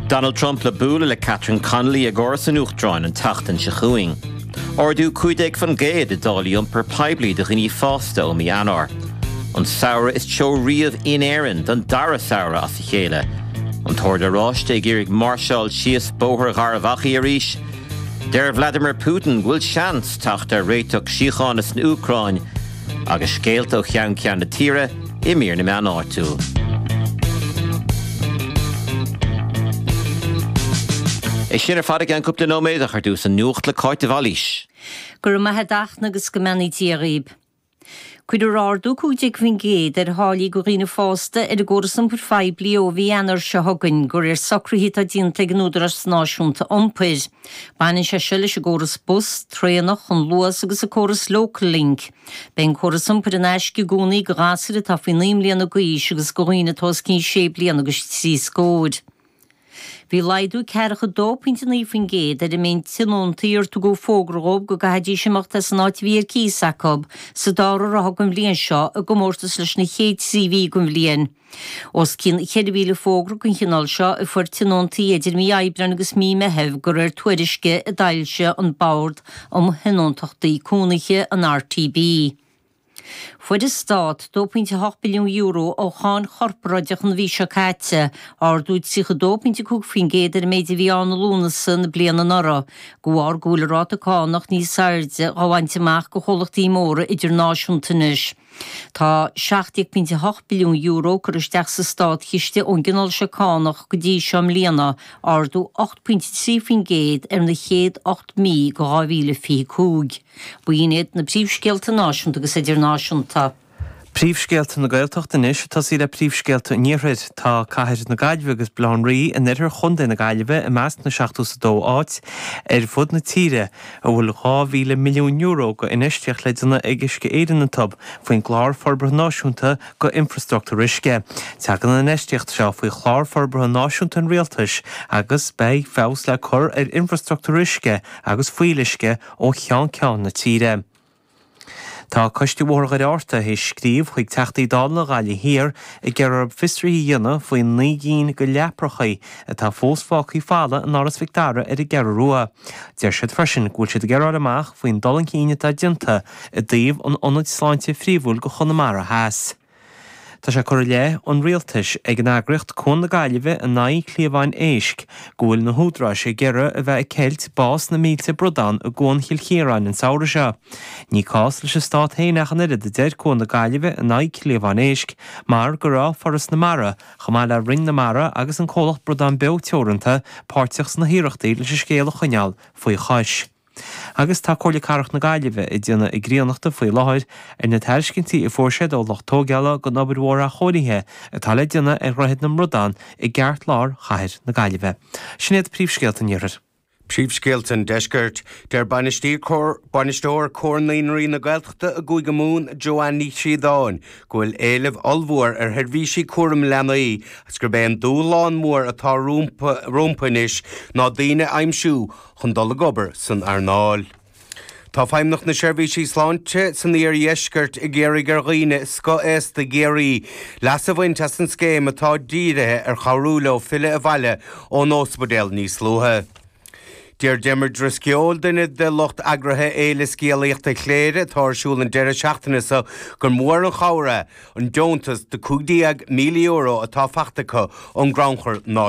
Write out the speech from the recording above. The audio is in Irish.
Donald Trump le bualadh le Catherine Connolly ag Áras an Uachtaráin an tseachtain seo chugainn. Ardú 15% i dtáillí iompair poiblí do dhaoine fásta ó mí Eanáir. An samhradh is teo riamh in Éirinn don dara samhradh as a chéile. An tOrd Oráiste ag iarraidh máirseáil síos Bóthar Gharbh Achaidh arís. Deir Vladimir Putin go bhfuil seans teacht ar réiteach síochána san Úcráin agus scéalta ó cheann ceann na tíre i mír na meán áitiúil. É sin ar fad i gceann cúpla nóiméad ach ar dtús an nuacht le Cáit de Bhailís. Go raibh maith a't a Fhachtna agus go mbeannaí Dia dhaoib. Cuirfear ardú 15% ar tháillí do dhaoine fásta ar an gcóras iompair phoiblí ó mhí Eanáir seo chugainn, de réir socruithe atá déanta ag an Údarás Náisiúnta Iompair. Baineann sé seo leis an gcóras bus, traenach, an Luas agus an córas Local Link. Beidh an córas iompair in aisce i gcónaí do ghasúir atá faoi 9 mbliana d'aois agus do dhaoine atá os cionn sé bliana agus trí scóir. Bhí laghdú ceathracha 2.9% ar an méid tionóntaí ar tugadh fógra dhóibh go gcaithfidís imeacht as an áit a bhí ar cíos acu sa dara ráithe den bhliain seo i gcomórtas leis na chéad trí mhí den bhliain. Os cionn 4,000 fógra den chineál seo a fuair tionóntaí idir mí Aibreáin agus mí Meithimh de réir tuairisce a d'fhoilsigh an Bord um Thionóntachtaí Cónaithe, an RTB. Fuair an Stát €2.8 billiún ó cháin chorparáideach an mhí seo caite, ardú 32.5% ar an méid a bhí ann i Lúnasa na bliana anuraidh, de bharr go bhfuil an ráta cánach níos airde dhá bhaint amach do chomhlachtaí móra idirnáisiúnta anois. Tá €17.8 billiún curtha isteach sa státchiste ón gcineál seo cánach go dtí seo i mbliana, ardú 8.3% ar na chéad 8 mí de 2025. B'in iad na príomhscéalta náisiúnta agus idirnáisiúnta. Príomhscéalta na Gaeltachta anois, ag tosaí le príomhscéalta an Iarthair. Tá Cathair na Gaillimhe agus Baile Átha an Rí in oirthear Chontae na Gaillimhe i measc na 72 áit ar fud na tíre a bhfuil €2,000 milliún go infheistíocht le déanamh ag Uisce Éireann iontu faoin gClár Forbartha Náisiúnta go Infreastruchtúr Uisce. Tagann an infheistíocht seo faoi Chlár Forbartha Náisiúnta an Rialtais agus beidh feabhas le cur ar infreastruchtúr uisce agus fuíolluisce ó cheann ceann na tíre. Tá Coiste Bhóthar Dhoire Fhátharta théis scríobh chuig Teachtaí Dála na Gaillimhe Thiar ag iarraidh orthu fiosruithe a dhéanamh faoi 9 gcinn de leaprachaí atá fós fágtha folamh in Áras Mhic Dara ar an gCeathrú Rua. Deir siad freisin go bhfuil siad ag iarraidh fháil amach faoin dul chun cinn atá déanta i dtaobh an ionaid sláinte phríomhúil go Chonamara Theas. Tá sé curtha i leith an Rialtais ag an eagraíocht Cuan na Gaillimhe in aghaidh cliabháin éisc go bhfuil na húdaráis ag iarraidh a bheith ag ceilt bás na mílte bradán i gCuan Chill Chiaráin an samhradh seo. Ní cás leis an Stát féin ach an oiread, a deir Cuan na Gaillimhe in aghaidh cliabháin éisc, mar go raibh Foras na Mara, chomh maith le Roinn na Mara agus an comhlacht Bradán Beo Teoranta, páirteach sna hiarrachtaí leis an scéal a choinneáil faoi chois. Agus tá Comhairle Cathrach na Gaillimhe ag déanamh a gcríonnachta faoi láthair ar na tairiscintí a fuair siad ó lucht tóigeála don obair mhór athchóirithe atá le déanamh ar Dhroichead na mBradán i gceartlár chathair na Gaillimhe. Sin iad príomhscéalta an Iarthair. Príomhscéalta an Deiscirt. Deir Bainisteoir Comhar Naíonraí na Gaeltachta i gCúige Mumhan, Joanne Ní Chríodáin, go bhfuil éileamh ollmhór ar sheirbhísí cúraim leanaí agus gurb é an dúshlán mór atá rompu anois ná daoine a aimsiú chun dul ag obair san earnáil. Tá Feidhmeannacht na Seirbhísí Sláinte san iardheisceart ag iarraidh ar dhaoine scothaosta i gCiarraí leas a bhaint as an scéim atá dírithe ar chabhrú leo filleadh abhaile ón ospidéal níos luaithe. Deir Diarmuid Drisceoil, duine de lucht eagraithe Fhéile Scéalaíochta Chléire atá ar siúl an deireadh seachtaine seo, gur mór an chabhair é an deontas de €15,000 atá faighte acu ón gCrannchur Náisiúnta.